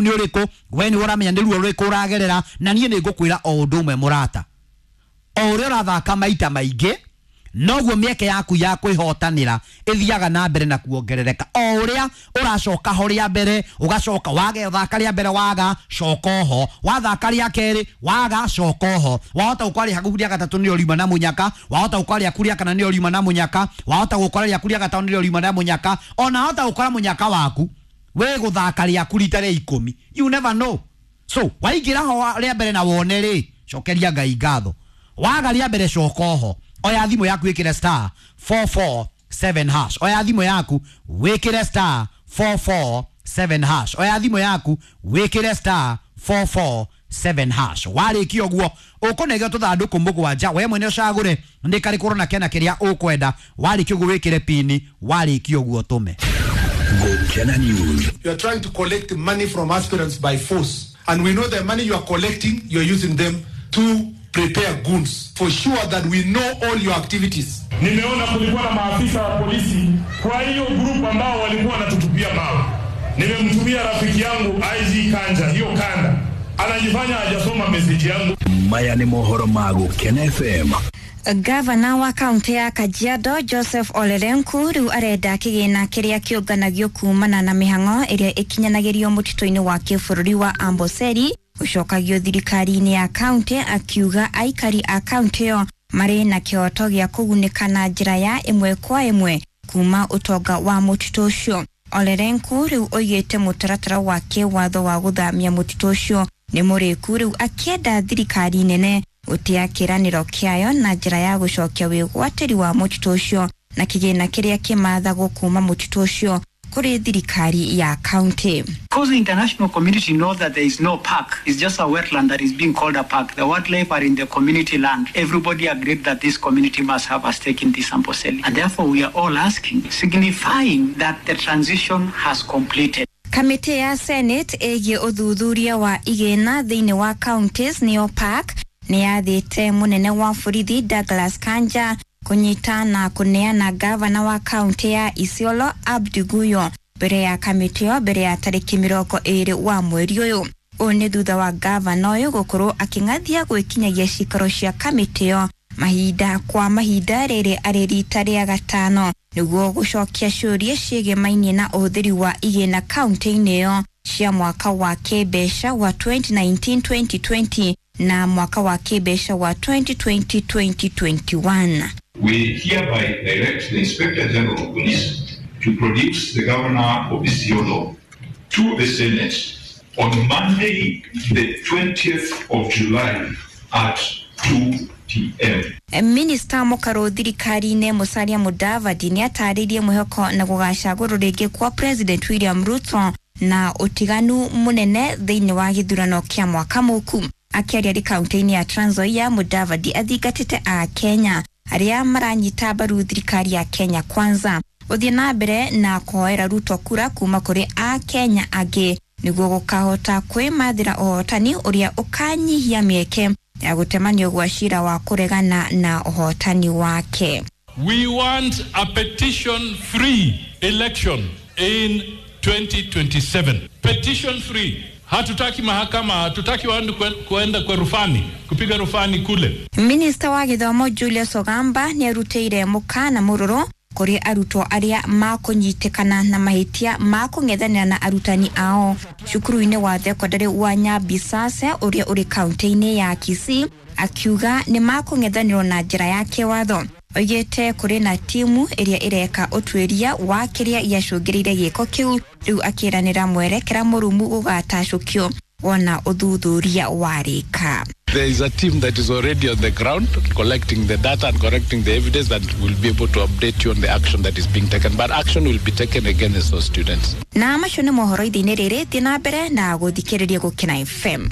Nĩ ũrĩkũ we nĩ ũramenya nĩ ruo rũrĩkũ ũragerera, na niĩ nĩ ngũkwĩra o ũndũ ũmwe mũrata, o ũrĩa ũrathaka maita maingĩ noguo mĩeke yaku ya kwĩhotanĩra ĩthiaga na mbere na kuongerereka. O ũrĩa ũracoka ho rĩa mbere, ũgacoka waga, thaka rĩa mbere waga, coka oho, wathaka rĩa kerĩ waga, coka oho, wahota gũkora rĩa rĩa gatatũ nĩrĩo riuma na mũnyaka, wahota gũkora rĩaku rĩa kana nĩrĩo riuma na mũnyaka, wahota gũkora rĩaku rĩa gatano nĩrĩo riuma na mũnyaka, ona wahota gũkora mũnyaka waku wĩ gũthaka rĩaku rita rĩa 10. You never know. So waingĩra ho rĩa mbere na wone rĩ, cokeria Ngai ngatho. Waga rĩa mbere, coka oho, oya thimũ yaku wĩkĩre *447#, oya thimũ yaku wĩkĩre *447#, oya thimũ yaku wĩkĩre *447#. Warĩkia ũguo ũkũnegio tũthandũkũ mũgwanja, we mwene ũcagũre nĩ karĩkũ ũrona kena kĩrĩa ũkwenda. Warĩkia ũguo wĩkĩre pini, warĩkia ũguo tũme. Gukena News. You are trying to collect money from aspirants by force. And we know the money you are collecting, you are using them to prepare goons. For sure that we know all your activities. Nimeona kulikuwa na maafisa wa polisi kwa hiyo group ambao walikuwa wanatutupia mawe. Nimemtumia rafiki yangu IG Kanja hiyo kanda, anajifanya hajasoma message yangu. Maya nĩ mohoro ma Gukena FM. Gavana wa kaunti ya Kajiado Joseph Olelenku rĩu arenda kĩgĩna kĩrĩa kĩũnganagio kumana na mĩhang'o ĩrĩa ĩkinyanagĩrio mũtitũ-inĩ wa kĩbũrũri wa Amboseli gũcokagio thirikari-inĩ ya kaunti, akiuga aikari a kaunti ĩyo marĩ na kĩhoto gĩa kũgunĩka na njĩra ya ĩmwe kwa ĩmwe kuma ũtonga wa mũtitũ ũcio. Olelenku rĩu oigĩte mũtaratara wa kĩwatho wa gũthamia mũtitũ ũcio nĩ mũrĩku, rĩu akĩenda thirikari nene gũtĩa kĩĩranĩro kĩayo na njĩra ya gũcokia wĩgwatĩri wa mũtitũ ũcio na kĩgĩna kĩrĩa kĩmathagwo kuma mũtitũ ũcio kũrĩ thirikari ya kaunti. Because the international community know that there is no park. It's just a wetland that is being called a park. The wildlife are in the community land. Everybody agreed that this community must have a stake in this Amboseli. And therefore we are all asking, signifying that the transition has completed. Kamĩtĩ ya Senate ĩgiĩ ũthuthuria wa igĩna thĩinĩ wa counties nĩyo PAC nĩ yathĩte mũnene wa borithi Douglas Kanja kũnyita na kũneana gavana wa kaunti ya Isiolo Abdi Guyo mbere ya kamĩtĩ ĩyo mbere ya tarĩki 20 wa mweri ũyũ. Ũũ nĩ thutha wa gavana ũyũ gũkorwo akĩng'athia gwĩkinyagia cikaro cia kamĩtĩ ĩyo mahinda kwa mahinda, rĩrĩ arĩ rita rĩa gatano nĩguo gũcokia ciũria ciĩgĩmainie na ũhũthĩri wa igĩna kaunti-inĩ ĩyo cia mwaka wa kĩmbeca wa 2019-2020 na mwaka wa kĩmbeca wa 2020-2021. We hereby direct the Inspector General of Police to produce the Governor of Isiolo to the Senate on Monday, the 20th of July at 2 p.m. Minista mũkarũ thirikari-inĩ Musalia Mudavadi nĩ atarĩirie mwĩhoko na gũgacagũrwo rĩngĩ kwa President William Ruto na ũtiganu mũnene thĩinĩ wa gĩthurano kĩa mwaka mũku. Akĩaria arĩ kaunti-inĩ ya Trans Nzoia, Mudavadi athingatĩte a Kenya arĩa maranyita mbaru thirikari ya Kenya Kwanza gũthiĩ na mbere na kũhoera Ruto kura kuma kũrĩ a Kenya angĩ nĩguo gũkahota kwĩmathĩra ũhotani ũrĩa ũkanyihia mĩeke ya gũtemanio gwa cira wa kũregana na ũhotani wake. We want a petition free election in 2027. Petition free. Hatutaki mahakama, hatutaki watu kuenda kwa rufani, kupiga rufani kule. Minista wa gĩthomo Julius Ogamba nĩ arutĩire mũkana mũrũrũ kũrĩ arutwo arĩa makũnyitĩkana na mahĩtia ma kũng'ethanĩra na arutani ao cukuru-inĩ wa thekondarĩ wa Nyabisase ũrĩa ũrĩ kaunti-inĩ ya Kisii, akiuga nĩ makũng'ethanĩrwo na njĩra ya kĩwatho. Oigĩte kũrĩ na timu ĩrĩa ĩreka ũtuĩria wa kĩrĩa gĩacũngĩrĩire gĩko kĩu, rĩu akĩranĩra mwerekera mũrũmu gũgatacũkio wona ũthuthuria warĩka. There is a team that is already on the ground collecting the data and collecting the evidence that will be able to update you on the action that is being taken. But action will be taken against those students. Na macio nĩ mohoro ithe-inĩ rĩrĩ, thiĩ na mbere na gũthikĩrĩria Gũkena FM.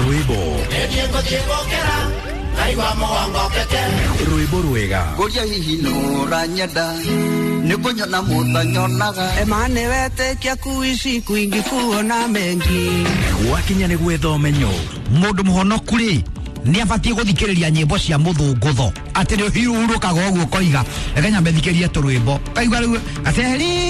Rwĩmbo rwĩmbo rwega. Ngũria hihi nũranyenda nĩ kũnyona mũtanyonaga Emane wetĩkia kuishi kwingi kuona mengi. Gwakinya nĩ gwetha ũmenyo. Mũndũ mũhonoku rĩ, Nĩ abatiĩ gũthikĩrĩria nyĩmbo cia mũthũngũtho, atĩ nĩ ũhurũkaga ũguo ũkoiga reke nyambe thikĩrie tũrwĩmbo, kaigua rĩu gaceri.